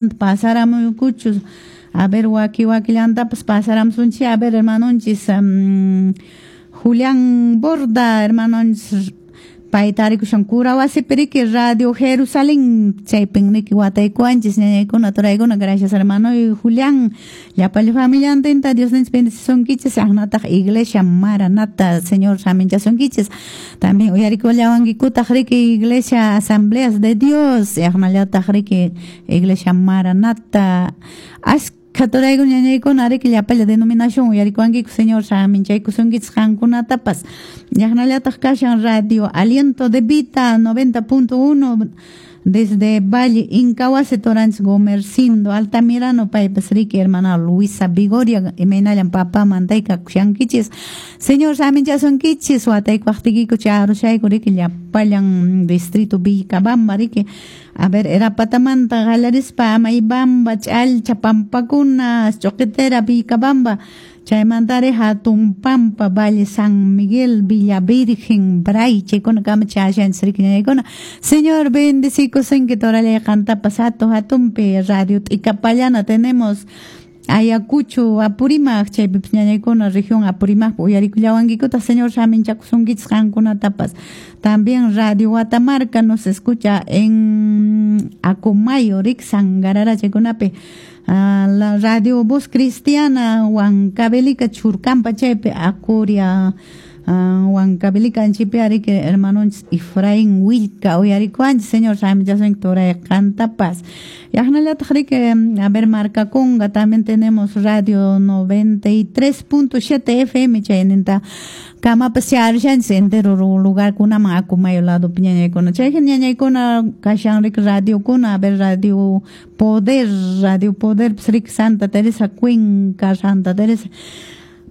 Pasaramuykuchus, a ver, waki wakillantapas pasaramusunchis. A ver, hermanonchis Julián Borda, hermanonchis, pay tarikushan Curahuasipi riki, Radio Jerusalén chaypin riki wataykuwanchis, ñañaykuna, turaykuna. Gracias, hermano Julián, llapalla familiantinta Dios ninchis bendecisunkichis. Aqnataq Iglesia Maranata, Señor saminchasunkichis. También uyarikullawankikutaq riki Iglesia Asambleas de Dios, aqnallataq riki Iglesia Maranata. Askha turaykuna, ñañaykuna riki llapalla denominación uyarikuwankiku. Señor saminchaykusunkichis qankunatapas. Llaqnallataq kashan Radio Aliento de Vida 90.1 desde Valle Incahuasi, turanchis Gomercindo Altamirano, paypas riki hermana Luisa Vigoria, imaynallan papá mantayka kushankichis. Señor saminchasunkichis. Wataykuwaqtiykiku charushayku riki llapallan distrito Vilcabamba riki, a ver, Erapatamanta qallarispa Amaybamba, Ch'allcha, Pampakuna, Choquetera, Vilcabamba, chaymantari Hatun Pampa, Valle San Miguel, Villa Virgen, Bray, chaykuna kama chashanchis riki, ñañaykuna. Señor bendecikusunki torallay qantapas hatun hatunpi. Radio T'ikapallana tenemos Ayacucho, Apurímac, chaypipas ñañaykuna región Apurímac uyarikullawankikuta. Señor saminchakusunkichis qankunatapas. También Radio Guatamarca nos escucha en Acomayo, rik Sangarara chaykunapi. La Radio Voz Cristiana, Huancavelica, Churcampa chaypi, Acuria, Huancavelica anchipi riki hermanonchis Efraín Huillca uyarikuwanchis. Señor saminchasunki turay qantapas. Yaqnallataq riki, a ver, Marcaconga, también tenemos Radio 93.7 FM, chayninta kamapas charishanchis entero lugar kunaman Acomayo lado ñañaykuna. Chay ñañaykuna kashan riki radiokuna, a ver, Radio Poder, Radio Poder riki Santa Teresa, Cuenca, Santa Teresa.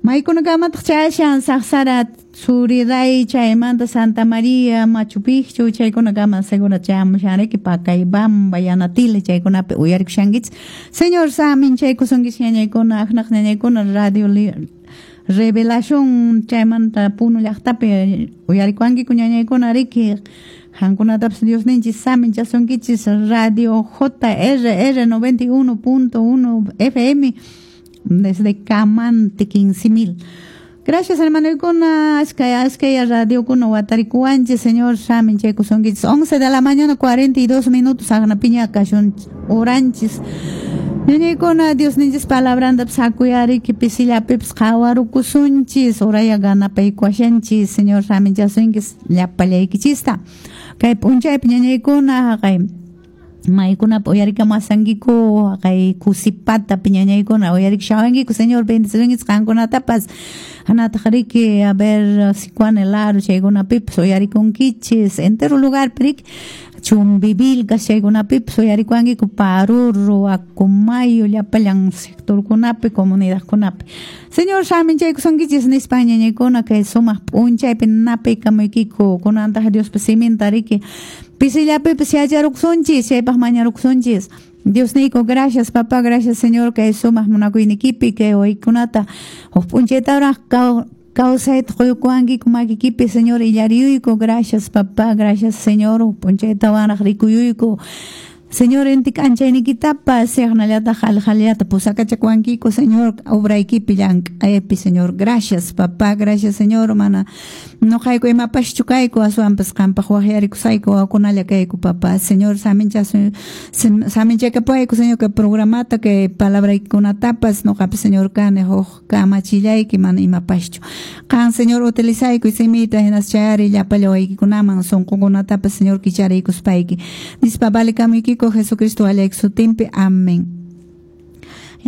Maykuna kamataq chayashan Saqsara, Suriray, chaymanta Santa María, Machu Picchu, chaykuna kama seguro chayamushan riki Pacaybamba, Yanatile, chaykunapi uyarikushankichis. Señor saminchaykusunkichis ñañaykuna. Aqnaq ñañaykuna Radio Revelación chaymanta Puno llaqtapi uyarikuwankiku, ñañaykuna riki, qankunatapas Dios ninchis saminchasunkichis. Radio JRR 91.1 FM desde Camante 15.000. Gracias, hermano, askaya askaya radio kuna watarikuwanchis. Señor saminchaykusunkichis. 11 de la mañana 42 minutos, aqnapiña kashun oranchis. Ñañaykuna, Dios ninchis palabrantapas hakuyariki pisillapipas qhawarukusunchis, oraya ganapaykuwashanchis. Señor saminchasunkis llapallaykichista. Kay p'unchaypi, ñañaykuna, haqay maykunapa uyarikamuwasankiku, haqay Kusipatapi ñañaykuna uyarikushawankiku. Señor bendecisunkichis qankunatapas. Hanataq riki, a ver, Sicuani, El Aro chaykunapipas uyarikunkichis, entero lugarpi riki, Chumbivilcas chaykunapipas uyarikuwankiku, Paruro, Acomayo, llapallan sectorkunapi, comunidadkunapi. Señor saminchaykusunkichis nispa, ñañaykuna, kay sumaq p'unchaypi napaykamuykiku. Kunantaq Diospa siminta riki pisillapipas yacharukusunchis, chaypaq mañarukusunchis. Dios niyku, gracias, papá, gracias, Señor, kay sumaq munakuynikipi kay waykunata huk p'unchaytaraq kawsayta quykuwankiku makikipi, Señor, illariyuyku. Gracias, papá, gracias, Señor, huk p'unchaytawanraq rikuyuyku, Señor, inti k'anchaynikitapas yaqnallataq alqhallata pusakachakuwankiku, Señor, obraykipi llank'aypi. Señor, gracias, papá, gracias, Señor, mana nuqayku imapaschu kayku, aswanpas qampaq waqyarikusayku wawakunalla kayku, papá. Señor, saminchakapuwayku, Señor, kay programata, kay palabraykikunatapas. Nuqapas, Señor, kani huk kamachillayki, mana imapaschu. Qan, Señor, utilizaykuy simiyta, hinas chayari llapalla waykikunaman, sunqukunatapas, Señor, kichariykuspayki. Nispa valikamuykiku Jesucristo allayki sutinpi. Amén.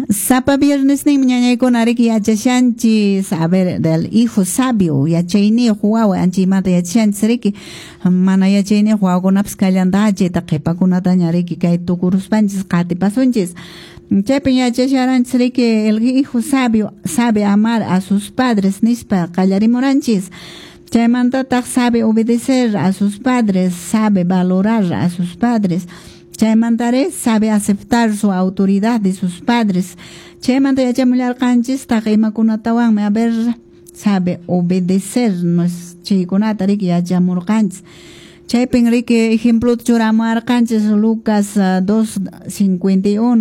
Sapa viernes ninmi, ñañaykuna, riki yachashanchis, a ver, del hijo sabio, yachayniyuq wawa, anchaymanta yachashanchis riki. Mana yachayniyuq wawakunapas kallantaqa, chayta qhipakunataña riki kay tukuruspanchis qatipasunchis. Chaypin yachasharanchis riki, el hijo sabio sabe amar a sus padres nispa qallarimuranchis. Chaymantataq sabe obedecer a sus padres, sabe valorar a sus padres. Chaymantare sabe aceptar su autoridad de sus padres. Chaymanta yachamullarqanchistaq imakunatawanmi, a ver, sabe obedecer, nos chaykunata riki yachamurqanchis. Chaypin riki ejemplo churamuwarqanchis Lucas 2:51.